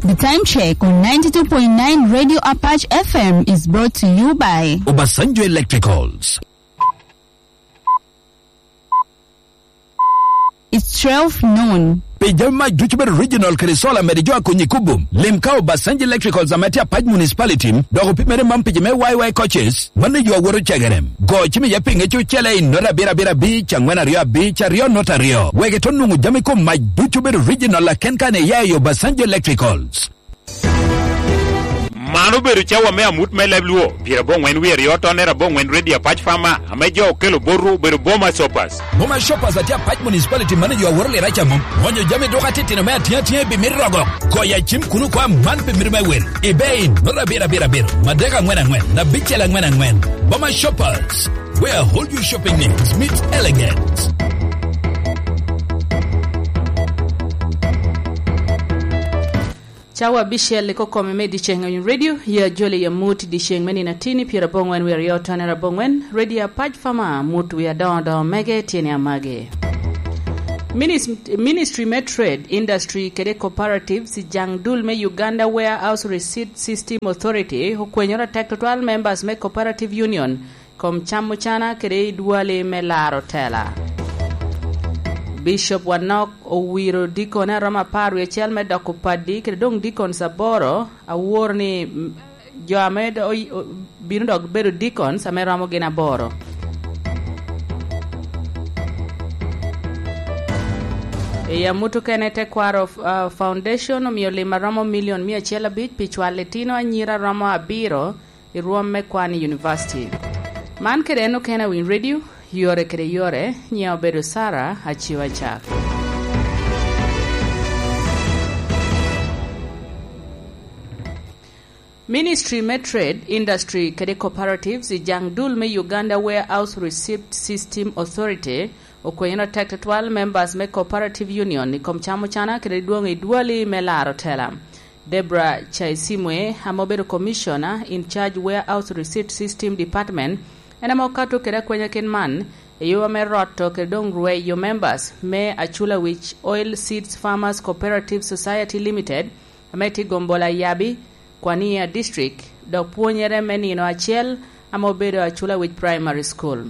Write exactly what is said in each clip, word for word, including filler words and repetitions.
The time check on ninety-two point nine Radio Apache F M is brought to you by Obasanjo Electricals. It's twelve noon. Pi jami mac ducu bedo regional kede solar mede jo a konyi kubum. Lim ka Obasanjo Electricals ame tye Apac Municipality, dok opimere man pi jo me Y Y coaches, mano yo awoto cegerem. Go cim iye pi ŋec ocele i nota abiro abiro abic, angwen aryo abic, aryo nota aryo. Wek ito nwoŋo jami kom mac ducu bedo regional aken kan iya i Obasanjo Electricals. Man obedo cawa me amut me leb Luo, pyerabongwen wie aryo tonner abongwen Radio Apac Farmer, ame jo okelo botwu obedo Boma Shoppers. Boma Shoppers atye Apac Municipality mano jo aworo lira ca mom. Onyo jami dok atitino me atiŋ atiŋ i bimit rogo. Goyo acim kuno kwa man pi mito me wel. Ibe in, nota abiro abiro abiro, madek angwen angwen, abicel angwen angwen. Boma Shoppers, where all your shopping needs meet elegance. Cawa abicel i kokome me dyeceŋ i Radio, ya joli ya mut dyeceŋ me nino atini pyerabongwen wie aryo tonner abongwen, Radio Apac Farmer, mut wie adoŋo doŋo mege tyene amage. Minis-, Ministry me Trade, Industry kede Cooperatives i jaŋ dul me Uganda Warehouse Receipt System Authority okwenyoro atek tutwal members me Cooperative Union kom cam ocana kede i dwali me laro tela. Bishop Wanok owiro dikone a romo apar wie acel me doko padi kede doŋ deacons aboro, awor ni, mm, jo ame do-, oy-, o-, bino dok bedo deacons ame romo gin aboro. I amut okene, Tekwaro, uh, Foundation omio lim a romo milion mia acel abic pi cwalo litino anyira romo abiro i rwom me kwan i univaciti. Man kede en okene a Winy Radio, yore kede yore, nyiŋa obedo Sarah Aciwa Cak. Ministry me Trade, Industry kede Cooperatives i jaŋ dul me Uganda Warehouse Receipt System Authority okwenyoro atek tutwal members me Cooperative Union i kom cam ocana kede dwoŋ i dwali me laro tela. Debra Chaisimwe, ame obedo Commissioner in charge Warehouse Receipt System Department, en ame okato kede akwenyakin man, i yo ame roto kede doŋ rweyo members me Achulawic Oil Seeds Farmers Cooperative Society Limited, ame tye i Gombola Yabi, Kwania District, dok pwonyere me nino acel ame obedo Achulawic Primary School.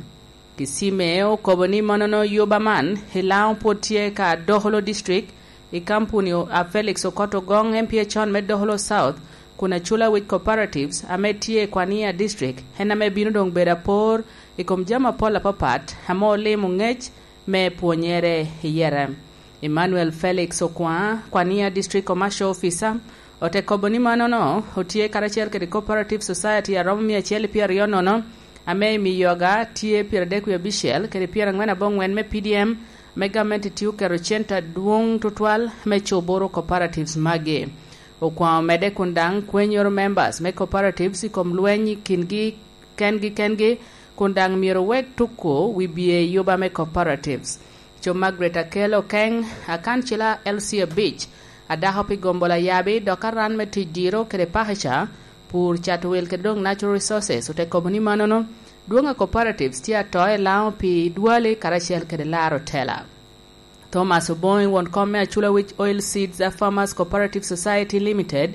Kisime okobo ni monono yuba man i Laŋo pwod tye ka Doholo District, i kampuni o-, a Felix Okoto Gong, M P A con me Doholo South, kun Achulawic Cooperatives ame tye i Kwania District, en ame bino doŋ bedo apor i kom jami apol apapat ame olimo ŋec me pwonyere i yere. Emmanuel Felix Okwaŋ, Kwania District Commercial Officer, ote kobo ni manono otye karacel kede Cooperative Society a romo mia acel i pyeraryo nono, ame i Miyoga tye pyeradek wie abicel kede pyerangwen abongwen me P D M, ame gamente tye oketo cente adwoŋ tutwal me coboro cooperatives magi. Okwaŋ omedde kun daŋ kwenyoro members me cooperatives i kom lweny i kingi kengi kengi, kun daŋ myero owek tuko wi bye yuba me cooperatives. Co Margaret Akel Okeng, akancila L C abic, adako pi Gombola Yabi, dok aran me tic diro kede pakica, pur, cato wil kede doŋ natural resources, ote kobo ni manono, dwoŋ a cooperatives tye ato i Laŋo pi dwali karacel kede laro tela. Thomas Oboŋ, won kom me Achulawic Oil Seeds a Farmers Cooperative Society Limited,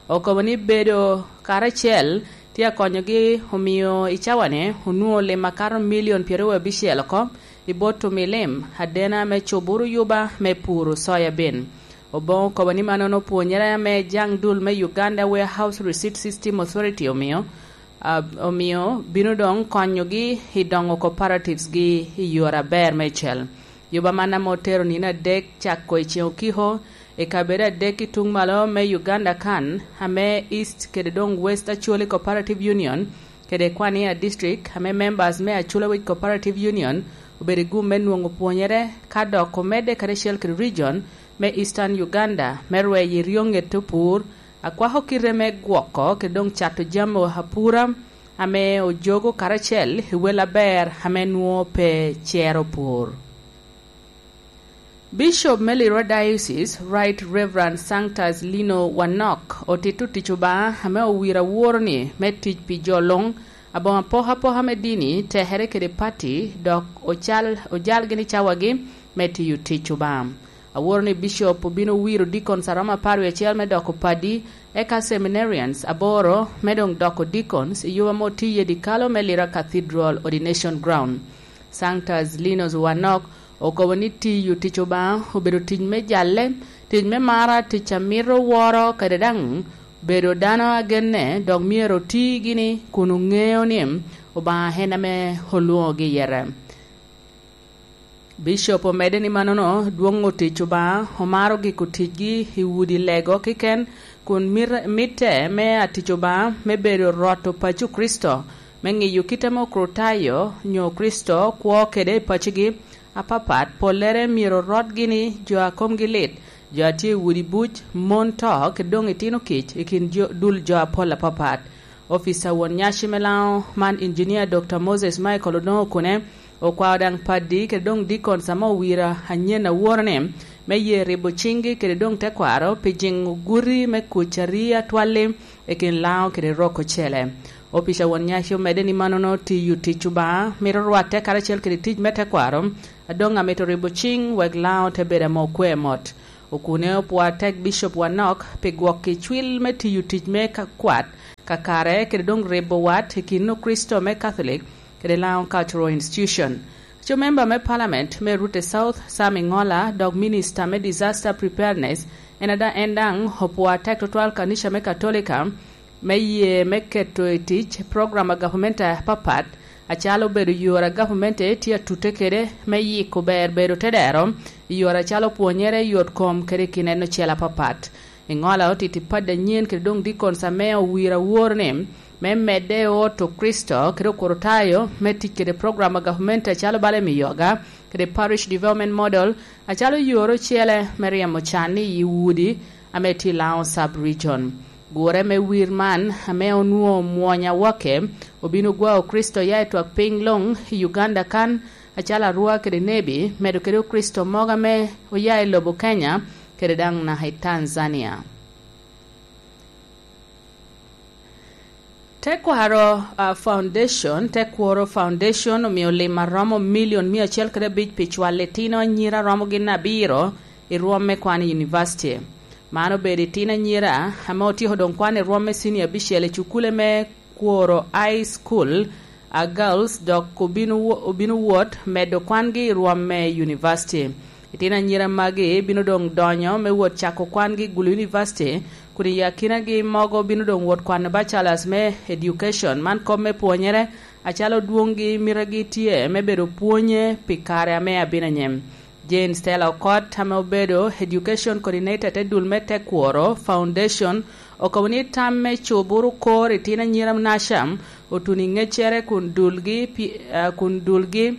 okobo ni bedo karacel tye akonyogi, omio i cawane onwoŋo lim akato milion pyeraryo abicel oko i bot omi lim adena me coboro yuba me puro soya bean. Oboŋ okobo ni manono pwonyere ame jaŋ dul me Uganda Warehouse Receipt System Authority omio, a, omio bino doŋ konyogi i doŋo cooperatives gi i yore aber me cel. Yuba man ame otero nino adek cako i ceŋ okiko i kabedo adek i tuŋ malo me Uganda kan, ame East kede doŋ West Acholi Cooperative Union kede Kwania District, ame members me Achulawic Cooperative Union obedo i gum me nwoŋo pwonyere, ka dok omedde karacel kede region me Eastern Uganda me rweyo i ryo ŋet opur, akwako kite me gwoko kede doŋ cato jami apura ame ojogo karacel i wel aber ame nwoŋo pe cero pur. Bishop me Lirwa Diocese, Right Reverend Sanctus Lino Wanok, otito tic Obaŋa ame owiro aworo-ni me tic pi jo luŋ, aboŋo apokapoka me dini, tekere kede pati, dok ocal, ojalgi ni cawagi me tiyo tic Obaŋa. Aworo ni Bishop obino wiro deacons a romo apar wie acel me doko padi, eka seminarians aboro me doŋ doko deacons i yo ame otiye dikalo me Lira Cathedral Ordination Ground. Sanctus Linus Wanok okobo ni tiyo tic Obaŋa obedo tic me jalle, tic me mara, tic a mito woro kede daŋ bedo dano agenne, dok myero oti gini kun oŋeo ni Obaŋa en ame olwoŋogi i yete. Bishop omedde ni mannono dwoŋo tic Obaŋa, omaro giko ticgi i udi lego keken, kun mir-, mitte me atic Obaŋa me bedo rot opaco Kricito, me ŋiyo kit ame Okricitayo nyo Kricito kwo kede i pacigi apapat, pollere myero rot gini jo a komgi lit, jo a tye i udi buc, mon to, kede doŋ itino kic i kin jo, dul jo apol apapat. Opica won nyaci me Laŋo man, Engineer Doctor Moses Michael Odongo Okune, okwao daŋ padi kede doŋ deacons ame owira anyen aworo ni me ye ribo ciŋgi kede doŋ tekwaro pi jiŋo guti me kuc a ri atwal-li i kin Laŋo kede rok ocele. Opica won nyaci omedde ni mannono tiyo tic Obaŋa mito rwatte karacel kede tic me tekwaro, a doŋ amito ribo ciŋ wek Laŋo te bedo ame okwe mot. Okune opwoo atek Bishop Wanok pi gwok i cwil me tiyo tic me ka-, kwat kakare kede doŋ ribo wat i kin Okricito me Catholic kede Laŋo Cultural Institution. Aco member me Parliament me Rute South, Sam Iŋola, dok Minister me Disaster Preparedness, en ada-, en daŋ opwoo atek tutwal kanica me Katolika me ye me keto i tic program a gavumenti apapat, acalo obedo yore a gavumenti tye atute kede me yiko ber bedo tedero i yore acalo pwonyere, yot kom, kede i kin en ocel apapat. Iŋola otito i padi anyen kede doŋ deacons ame owiro awor ni me medde ot Okricito kede Okricitayo me tic kede program a gavumenti acalo bala Emi Yoga kede Parish Development Model, acalo yore ocele me ryemo can i udi ame tye i Laŋo Sub-Region. Gure me wir man, ame onwoŋo omwony awakke, obino gwao Kricito ya i twak piny luŋ i Uganda kan, acalo Arua kede Nebi, medo kede Okricito mogo ame oya i lobo Kenya, kede daŋ naka i Tanzania. Tekwaro, ah, Foundation, Tekwaro Foundation omio lim a romo milion mia acel kede abic pi cwalo itino anyira romo gin abiro i rwom me kwan i univaciti. Man obedo itino anyira ame otyeko doŋ kwan i rwom me cinia abicel i cukule me Kworo High School, a girls, dok obino wo-, obino wot medo kwangi i rwom me univaciti. Itino anyira magi bino doŋ donyo me wot cako kwangi i Gulu University, kun i akinagi mogo bino doŋ wot kwano Bachelors me Education, man kop me pwonyere, acalo dwoŋgi mitegi tye me bedo pwonye pi kare ame abino anyim. Jane Stella Okot, ame obedo Education Coordinator te dul me Tekworo Foundation, okobo ni tam me cubo rukor itino anyira naca otuno i ŋeccere kun dulgi pi-, ah, kun dulgi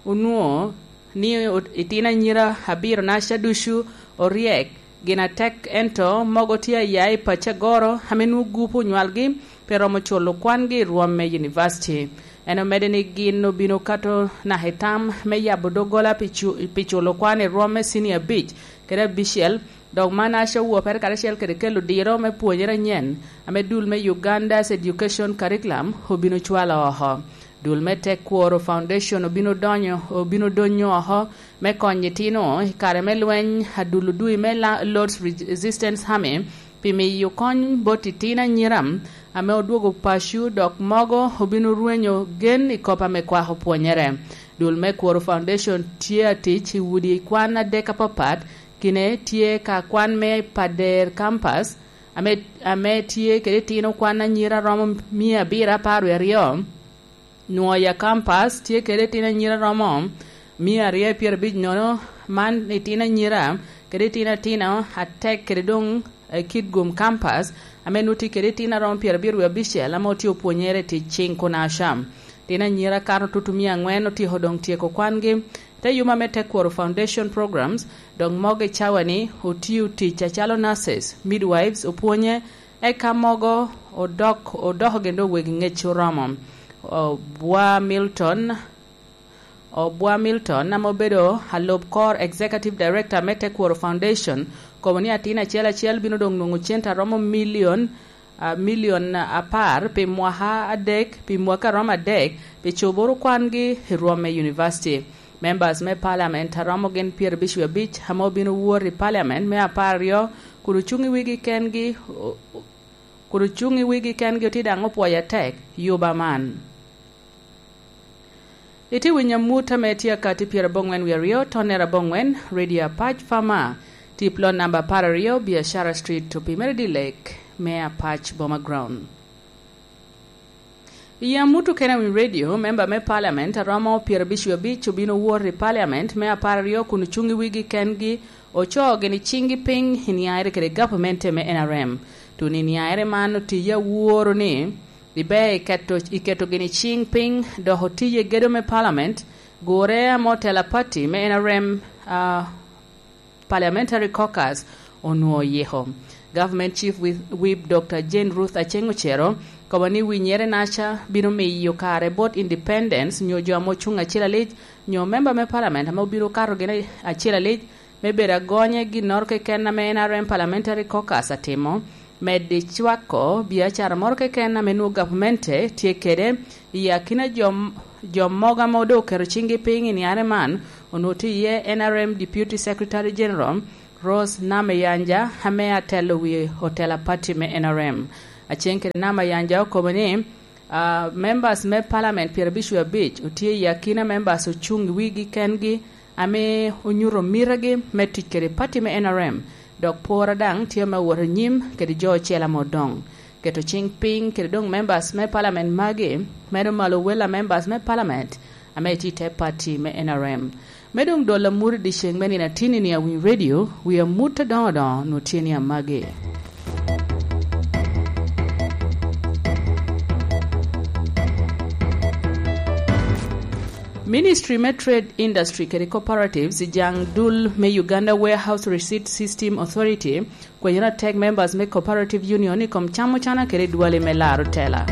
onwoŋo ni ot-, itino anyira abiro naca ducu oryek gin atek, ento mogo tye aya i pacci agoro ame nwoŋo gupu onywalgi pe romo culo kwangi i rwom me univaciti. En omedde ni gin obino kato naka i tam me yabo doggola pi cu-, pi culo kwan i rwom me cinia abic kede abicel, dok man aca owopere karacel kede kelo diro me pwonyere anyen ame dul me Uganda's Education Curriculum obino cwalo oko. Dul me Tekworo Foundation obino donyo, obino donyo oko me konyo itino i kare me lweny adul odui me la-, Lord's Resistance Army pi miyo kony bot itino anyira ame odwogo paco, dok mogo obino rwenyo gen i kop ame kwako pwonyere. Dul me Kworo Foundation tye atic i udi kwan adek apapat, kine tye ka kwan me Pader Campus, ame, ame tye kede itino kwan anyira romo mia abiro apar wie aryo, nwoŋo ya kampas tye kede itino anyira romo mia aryo pyerabic nono, man itino anyira kede itino atino atek kede doŋ, eh, Kitgum kampas, ame nwoŋo tye kede itino aromo pyerabiro wie abicel ame otye opwonyere i tic ciŋ kun acam. Itino anyira kato tutu mia aŋwen otyeko doŋ tyeko kwangi. Te yuma me Tekworo Foundation Programs, dok mogo i cawa-ni otio tic acalo nurses, midwives, opwonye, eka mogo odok, odoko gin doŋ wegi ŋec oromo. Obwa Milton, Obwa Milton, ame obedo alub kor Executive Director me Tekworo Foundation, kobo ni atin acel acel bino doŋ nwoŋo cente aromo milion, ah, milion apar pi mwaka adek, pi mwaka aromo adek, pi coboro kwangi i rwom me univaciti. Members me Parliament a romo gin pyerabicwi abic ame obino wot i Parliament me apar aryo kun ocuŋ i wigi kengi, o-, o-, kun ocuŋ i wigi kengi otye daŋ opwoyo atek yuba man. Itye winyo amut ame tye akati pyeraboŋwen wie aryo, tonere aboŋwen, Radio Apac Fama, tip lon namba apar aryo, Biashara Street, Opimere Dilek, me Apac Boma Ground. I amut okene a Winy Radio, memba me Parliament a romo pyerabicwi abic obino wot i Parliament me apar aryo kun ocuŋ i wigi kengi, ocoo gini ciŋgi piny i niaere kede gavamente me N R M. Tun i niaere man otiye aworo ni iber i keto, i keto gini ciŋ piny, dok otiye gedo me Parliament, gure ame otela pati me N R M, ah, Parliamentary Caucus onwoŋo oyiko. Government Chief Whip, Whip Doctor Jane Ruth Aceng Ocero kobo ni winyere naca bino miyo kare bot independence nyo jo ame ocuŋ acel alic nyo member me Parliament ame obino kato gin acel alic me bedo agonye ginnoro keken ame N R M Parliamentary Caucus atimo, medo i cwako biacara moro keken ame nwoŋo gavamente tye kede i akina jo, jo mogo ame doŋ oketo ciŋgi piny i niare man, onwoŋo tye iye N R M Deputy Secretary General Rose Namayanja ame atelo wi otela pati me N R M. Aceng kede Namayanja okobo ni, ah, members me Parliament pyerabicwi abic otye i akina members ocuŋ i wigi kengi ame onyuto mitegi me tic kede pati me N R M, dok pora daŋ tye ame owoto anyim kede jo ocel ame odoŋ. Keto ciŋ piny kede doŋ members me Parliament magi medo malo wel a members me Parliament ame tye i te pati me N R M. Me doŋ dolo amut i dyeceŋ me nino atinni ni a Winy Radio, wi amut adoŋo doŋo nwoŋo tye ni amagi. Ministry me Trade, Industry kede Cooperatives i jaŋ dul me Uganda Warehouse Receipt System Authority kwenyere atek members me Cooperative Union i kom camo cana kede dwali me laro tela.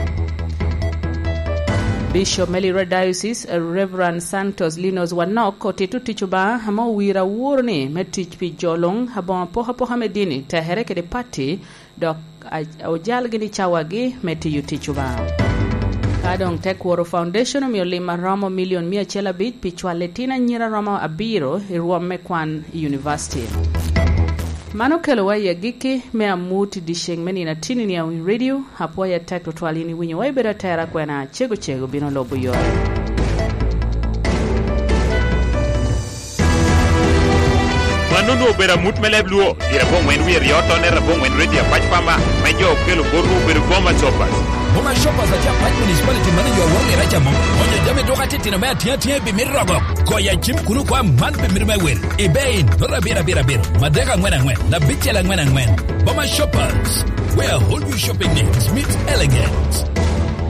Bishop me Lira Diocese, Reverend Santos Linus Wanok, otito tic Obaŋa ame owiro aworo ni me tic pi jo luŋ aboŋo apokapoka me dini, tekere kede pati, dok a-, ojal gini cawagi me tiyo tic Obaŋa. Ka doŋ Tekworo Foundation omio lim a romo milion mia acel abic pi cwalo itino anyira romo abiro i rwom me kwan i univaciti. Man okelowa i agikki me amut i dyeceŋ me nino atinni ni a Winy Radio. Apwoyo atek tutwal in iwinyowa, ibedo atera kwena, cego cego bino lubo yore. Mano onwoŋo obedo amut me leb Luo, pire aboŋwen wie aryo, tonere aboŋwen, Radio Apac Pama, me jo okelo botwu obedo Boma Shoppers. Boma Shoppers atye Apac Municipality, mano jo aworo mira camo. Onyo jami duka titino me atiŋ atiŋ i pi mito rogo. Goyo acim kun okwa man pi mito me wil. Ibe in, noto abiro abiro abiro, madek angwen angwen, abicel angwen angwen. Boma Shoppers, where all your shopping needs meet elegance.